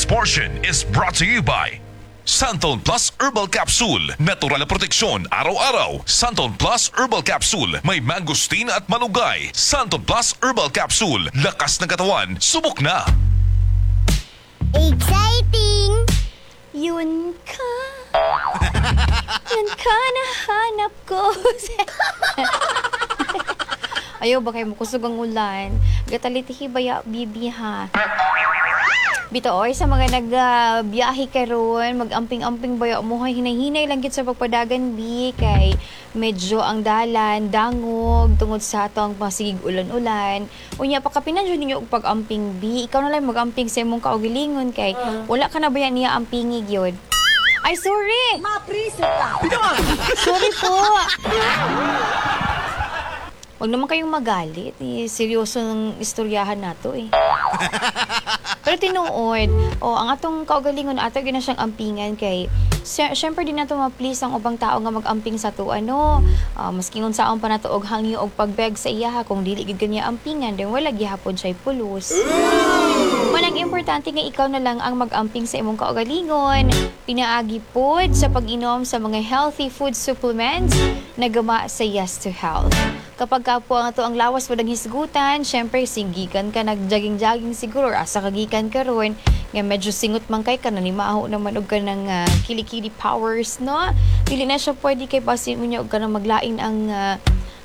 portion is brought to you by Santon Plus Herbal Capsule. Natural na proteksyon araw-araw. Santon Plus Herbal Capsule. May mangosteen at malunggay. Santon Plus Herbal Capsule. Lakas ng katawan. Subok na. Exciting! Yun ka. Yun ka nahanap ko. Ayaw ba kayo makusog ang ulan? Gatalitihi baya, bibi ha? Bito, oy, sa mga nagbiyahe karon, mag-amping-amping baya mo hay, hinay-hinay lang gid sa pagpadagan bi kay medyo ang dalan dangog tungod sa atong masigig ulan-ulan. Unya pakapinan jud ninyo og pag-amping bi. Ikaw na lang mag-amping sa imong kaugalingon kay wala ka na baya niya ampingi gyud. Ay, sorry. Mapriso ka! Sorry po. Huwag naman kayong magalit. Eh, seryoso ng istoryahan nato eh. Pero tinuod, oh, ang atong kaugalingon ato gina siyang ampingan kay syempre di nato ma-please ang ubang tao nga mag-amping sa ato ano. Maski unsaon pa nato og hangyo og pagbeg sa iyaha, kung dili gid kanya ampingan, then wala gihapon siya pulos. Manang importante nga ikaw na lang ang mag-amping sa imong kaugalingon. Pinaagi pod sa pag-inom sa mga healthy food supplements na gama sa Yes to Health. Kapag ka po ang ato ang lawas mo ng hisgutan, syempre singgikan ka nag-jogging-jogging siguro or asa kagikan karon nga medyo singot man kay ka nanimaho naman og kanang kilikili powers, no? Dili na siya pwede kay basin mo niya og kanang maglain ang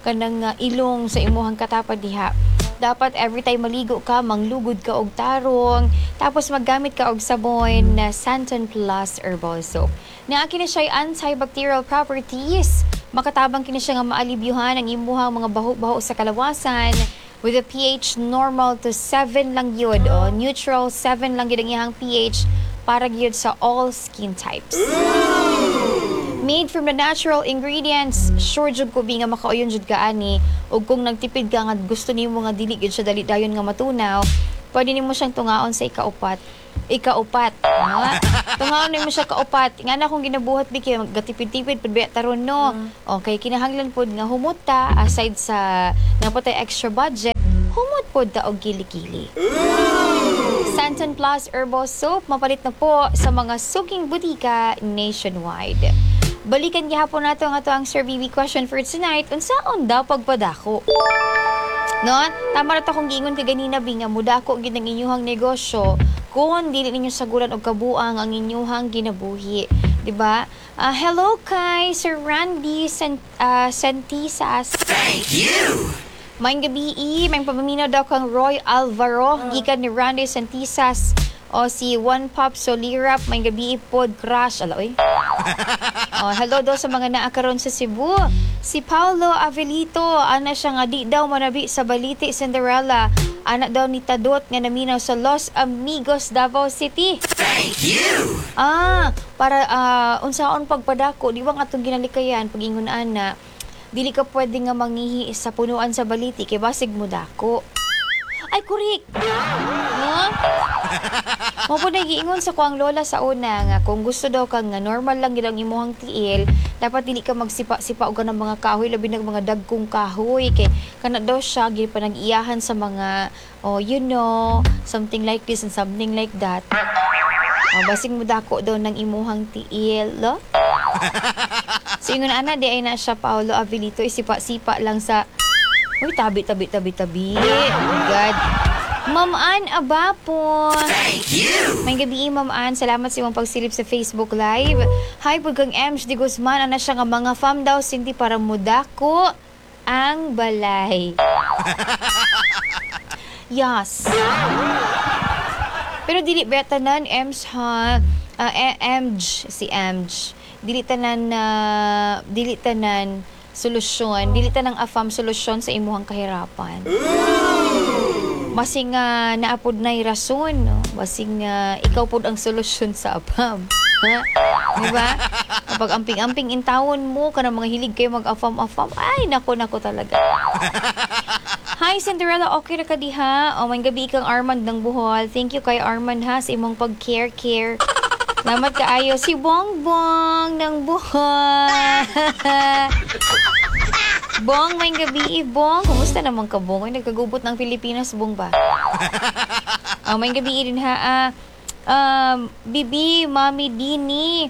kanang ilong sa imuhang katapad diha. Dapat every time maligo ka, manglugod ka og tarong, tapos maggamit ka og sabon na Santon Plus Herbal Soap. Naa kini siya antibacterial properties. Makatabang kini siya nga maalibyuhan ang imuhang mga baho-baho sa kalawasan with a pH normal to 7 lang yun. O, neutral 7 lang yun ang iyang pH para gyud sa all skin types. Made from the natural ingredients, sure jud ko bi nga makauyon jud ka ani. Ug kung nagtipid ka nga gusto nimo nga dili gyud siya dali dayon nga matunaw, pwede nimo siyang tungaon sa ikaupat. Ikaupat. Ha? Tungaon nimo siya kaupat. Nga na kung ginabuhat bi kay gatipid-tipid pud ba taron, no? Okay, kinahanglan pod nga humot ta aside sa napatay extra budget, humot pod ta og kilikili. Santon Plus Herbal Soap, mapalit na po sa mga suking butika nationwide. Balikan gihapon nato ang ato ang Sir BB question for tonight. Unsaon daw pagpadako? No? Tama ra to akong giingon kay ganina bi nga mudako gid ang inyuhang negosyo kung dili ninyo saguran og kabuang ang inyuhang kinabuhi. Di ba? Hello kay Sir Randy Santisas. Thank you! Maayong gabi, may papaminaw daw kang Roy Alvaro, gikan ni Randy Santisas o si One Pop Solirap, maayong gabi pod crush. Ala oy. Oh, hello daw sa mga naa karon sa Cebu. Si Paulo Avelito, ana siya nga di daw manabi sa baliti, Cinderella. Ana daw ni Tadot nga naminaw sa Los Amigos, Davao City. Thank you! Para unsaon pagpadako, di ba nga atong ginalikayan pag-ingon ana, dili ka pwede nga mangihi sa punuan sa baliti kay basig mo dako. Ay, kurik! No? Mo po nagiingon sa kuang lola sa una nga kung gusto daw kang nga normal lang gid ang imuhang tiil, dapat dili ka magsipa-sipa og kanang mga kahoy, labi nag mga dagkong kahoy kay kana daw siya gid pa nag-iyahan sa mga, oh, something like this and something like that. Oh, basig mo dako daw ng imuhang tiil, lo? So ingon ana di ay na siya Paolo Avelito isipa-sipa lang sa. Uy, tabi, tabi, tabi, tabi. Oh my God. Ma'am Ann Abapo. Thank you! Maayong gabi, Ma'am Ann. Salamat sa imong pagsilip sa Facebook Live. Hi po kang Ems Di Guzman. Ana siya nga mga fam daw, Cindy, para mudako ang balay. Yes. Pero dili ba tanan, Ems ha? MG, si MG. Dili tanan na dili tanan solusyon, dili tanang afam solusyon sa imuhang kahirapan. Basing naapod na'y rason, no? Basing ikaw pod ang solusyon sa afam. Ha? Di ba? Kapag amping-amping intawon mo, kanang mga hilig kayo mag-afam-afam, ay, nako, nako talaga. Hi, Cinderella. Okay ra ka diha? O, maayong gabi kang Armand ng Bohol. Thank you kay Armand ha sa imong pag-care-care. Salamat kaayo. Si Bongbong ng Bohol. Bong, maayong gabi. Bong, kumusta naman ka, Bong? Ay, nagkagubot ng Pilipinas, Bong ba? Oh, maayong gabi din ha. Bibi, Mami Dini,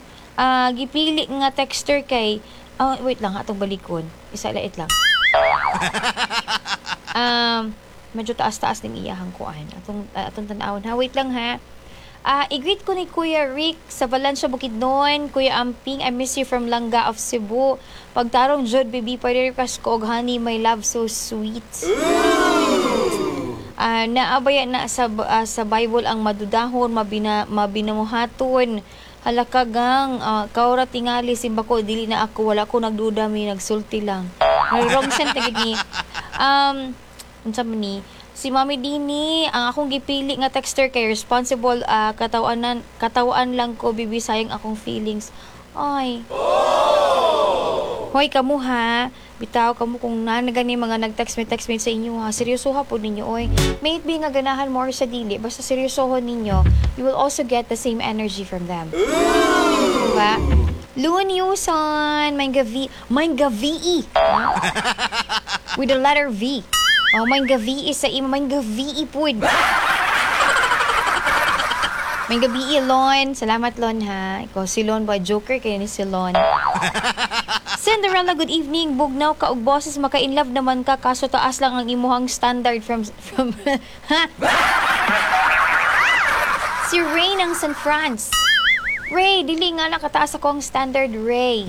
gipili nga texter kay, oh, wait lang, atong balikon. Isa lait lang. Medyo taas-taas ning iyahang kuan. Atong tan-awon ha. Wait lang ha. I-greet ko ni Kuya Rick sa Valencia, Bukidnon. Kuya Amping, I miss you from Langga of Cebu. Pagtarong jud, baby, pwede request ko og "Honey, My Love So Sweet." Naabaya na sa Bible ang madudahon, mabinamuhaton. Halakagang, kaura tingali simba ko, dili na ako, wala ko nagduda, may nagsulti lang. May wrong send na gid ni. Unsa man ni? Si Mami Dini, ang akong gipili nga texter kay responsible, katawan lang ko, bibi, sayang akong feelings. Ay. Hoy, kamo ha. Bitaw kamo kung naa na gani mga nag-text me text me sa inyo ha. Seryoso ha po ninyo oy. May it be nga ganahan mo or sa dili, basta seryosohon ninyo, you will also get the same energy from them. Diba? Loon Yuson, may gavi. With the letter V. Oh, may gavi sa imo, may gavi pud. May gabi, Lon. Salamat, Lon, ha. Ikaw si Lon ba? Joker kayo ni si Lon. Cinderella, good evening. Bugnaw ka og boses, maka-inlove naman ka kaso taas lang ang imuhang standard from ha? Si Ray ng San Franz. Ray, dili nga nakataas ako ang standard, Ray.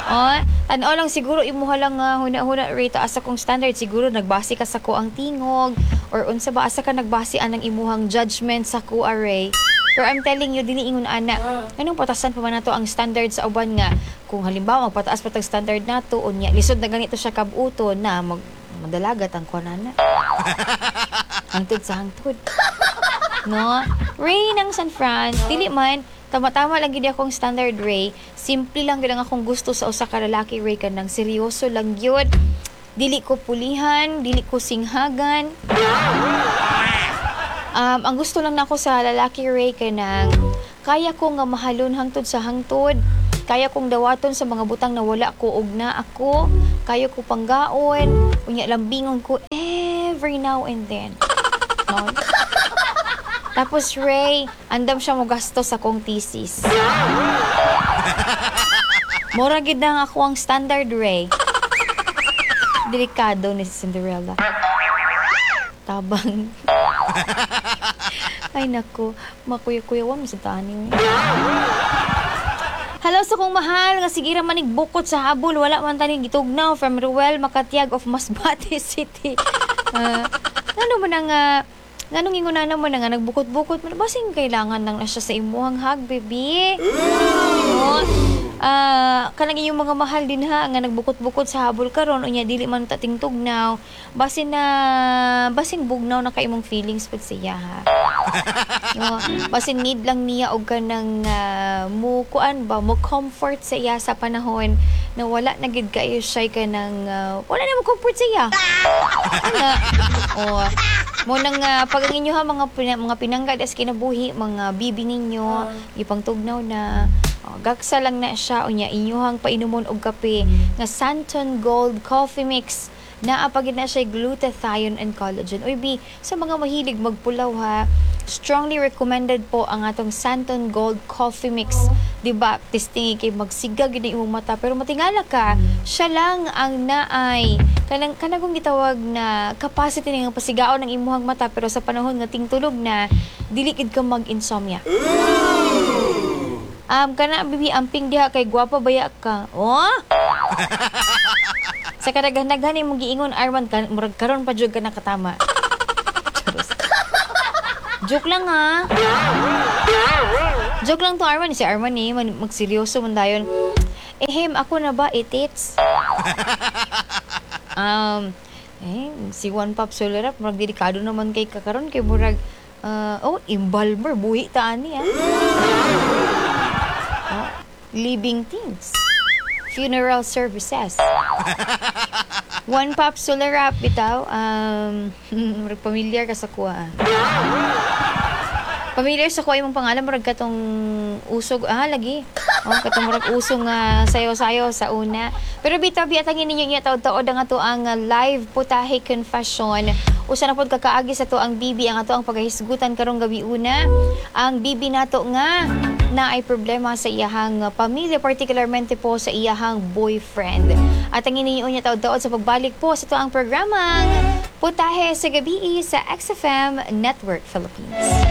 Oh, tanaw lang siguro imuha lang nga huna-huna, Ray, taas akong standard, siguro nagbase ka sa ko ang tingog or unsa ba, asa ka nagbase anang imuhang judgment sa ko, Ray. Pero I'm telling you, dili ingon ana. Anong patasan pa man nato ang standard sa uban nga kung halimbawa magpataas pa tag standard nato, unya lisod na ganito siya kabuto na mag madalagat ang kuan ana. Hangtod sa hangtod. No? Ray ng San Fran, dili man tama-tama lang gid akong standard, Ray. Simple lang gid ang akong gusto sa usa ka lalaki, Ray, kanang seryoso lang gyud. Dili ko pulihan, dili ko singhagan. Ang gusto lang nako sa lalaki, Ray, kanang kaya ko nga mahalon hangtod sa hangtod. Kaya kong dawaton sa mga butang na wala ko og na ako. Kaya ko panggaon. Unya lambingon ko every now and then. No? Tapos Ray, andam siya mo gasto sa kong thesis. Mura gid na ako ang standard, Ray. Delikado ni Cinderella. Tabang. Ay nako, makuya-kuyawan mo sa tani. Hello sa kong mahal nga sige ra manig bukot sa habol, wala man tani gitugnaw, from Ruel Makatiag of Masbate City. Ano mo na nga nganong ingon mo na nga nagbukot-bukot man, basing kailangan lang na siya sa imuhang hug, baby. No? Kanang inyong mga mahal din ha nga nagbukot-bukot sa habol karon, unya dili man ta tingtugnaw, basin na basin bugnaw na kay imong feelings pud siya ha. No, basin need lang niya og kanang mo kuan ba, mo comfort sa iya sa panahon na wala na gid kayo siya kanang wala na mo comfort sa iya. Ana. O mo nang pag ang inyo ha mga pinangga as kinabuhi, mga bibi ninyo ipangtugnaw na, oh, gaksa lang na siya, unya inyuhang painumon og kape nga Santon Gold Coffee Mix. Naa pa gid na siya glutathione and collagen. Uy, bi, sa mga mahilig magpulaw ha, strongly recommended po ang atong Santon Gold Coffee Mix. Di ba? Testing kay magsiga gid imong mata pero matingala ka, siya lang ang naay kanang kanang kung gitawag na capacity nga pasigaon ng imuhang mata pero sa panahon nga tingtulog na dili gid ka mag-insomnia. Kana bibi amping diha kay gwapa baya ka. Oh? Sa kadaghan-daghan imong giingon Arman ka, murag karon pa jud ka nakatama. Charos. Joke lang ha. Joke lang to, Arman. Si Arman eh, magseryoso man dayon. Ehem, ako na ba itits? Si One Pop Solar murag delikado naman kay kakaron kay murag oh, embalmer buhi ta ani ah. Oh, living things. Funeral services. One Pop Solar Rap, bitaw. Murag familiar ka sa kuha. Ah. Familiar sa kuha imong pangalan, murag katong usog, lagi. Oh, katong murag usog nga sayo-sayo sa una. Pero bitaw, biatangin ninyo niya taod-taod ang ato ang live putahe confession. Usa na pod kakaagi sa ato ang BB ang ato ang pagahisgutan karong gabi una. Ang BB nato nga na ay problema sa iyahang pamilya, particularmente po sa iyahang boyfriend. At ang iniyon niya taod-taod sa pagbalik po sa ato ang programang Putahe sa Gabii sa XFM Network Philippines.